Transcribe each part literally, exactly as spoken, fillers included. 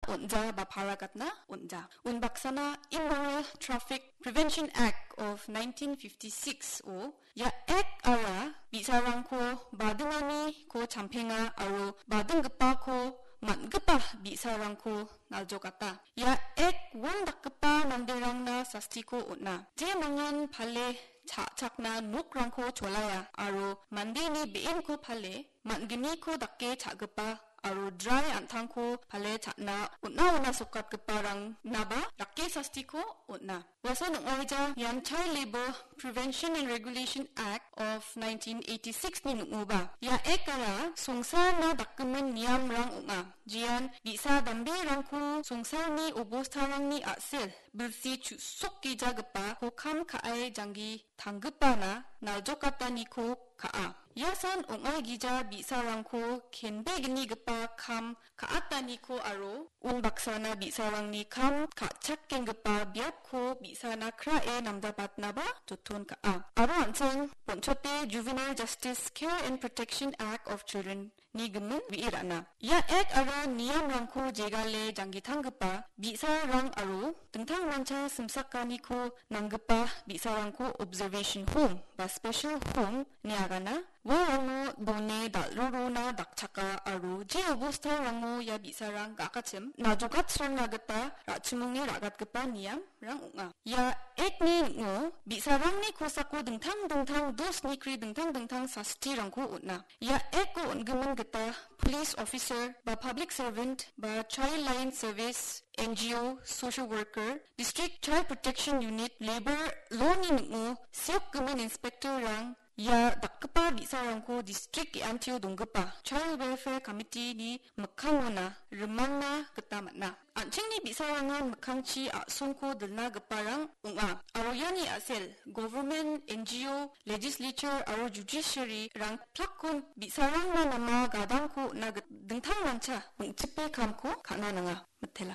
on·ja ba para gatna on·ja. Unbaksana Immoral Traffic Prevention Act of nineteen fifty-six-o ia Act-ara bi·sarangko badinganiko champenga aro badinggipako man·gipa bi·sarangko naljokata. Ia Act one dakgipa manderangna sastiko on·a. Jemangan pale cha·chakna nokrangko cholaia aro mandeni be·enko pale man·gniko dake cha·gipa aro drai an·tangko pale cha·na on·a ona sokatgiparangnaba rake sastiko on·a. Uasan ong·aija ian Child Labour Prevention and Regulation Act of nineteen eighty-six-ni ning·oba. Ia Act-ara songsarna dakgimin niamrang ong·a. Jean bi·sa damberangko songsarni obostarangni a·sel bilsi chu·sokgijagipako kam ka·e janggi tanggipana naljokataniko ka·a. Iasan ong·aigija bi·sarangko kenbegnigipa kam ka·ataniko aro unbaksana bi·sarangni kam ka·chakenggipa biapko bi·sana krae namdapatnaba joton ka·a. Aro an·ching bonchote Juvenile Justice Care and Protection Act of Children ni gimin wi·e ra·na. Ia Act aro niamrangko jegale janggitanggipa bi·sarang aro dingtangmancha simsakaniko nanggipa bi·sarangko observation home ba special home ine agana. Uarangno done dal·rurona dakchaka aro je obostarango ia bi·sarang ga·akachim najokatsrangna gita ra·chimonge ra·gatgipa niam rang ong·a. Ia Act-ni ning·o bi·sarangni kosako dingtang dingtang dos nikri dingtang dingtang sastirangko on·a. Ia Act-o on·gimin gita police officer ba public servant ba child line service, N G O, social worker, district child protection unit, labour law-ni ning·o seokgimin inspector-rang ia dakgipa bi·sarangko distrik ge·antio donggipa Child Welfare Committee-ni mikkangona rimangna gita man·a. An·chingni bi·sarangan mikkangchi a·songko dilna giparang ong·a. Aro iani a·sel government, N G O, legislature aro judiciary-rang plakkon bi·sarangna nama gadangko on·na git-, dingtangmancha ong·chipe kamko ka·na nanga. Mitela.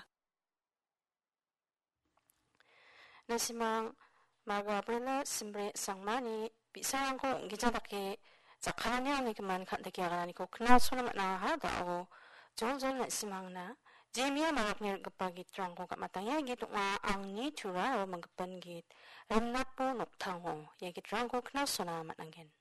Na·simang Margo Abrela Simbre Sangmani bi·sarangko ong·gija dake jakkalani angni gimin kandike agananiko knalsona man·aha. Da·o joljol na·simangna jemia marakni rikgipa gitrangko gam·atangenga. Git ong·a Angni Tura aro Manggipan Git, Rimnapo Noktango. Ia gitrangko knalsona man·angen.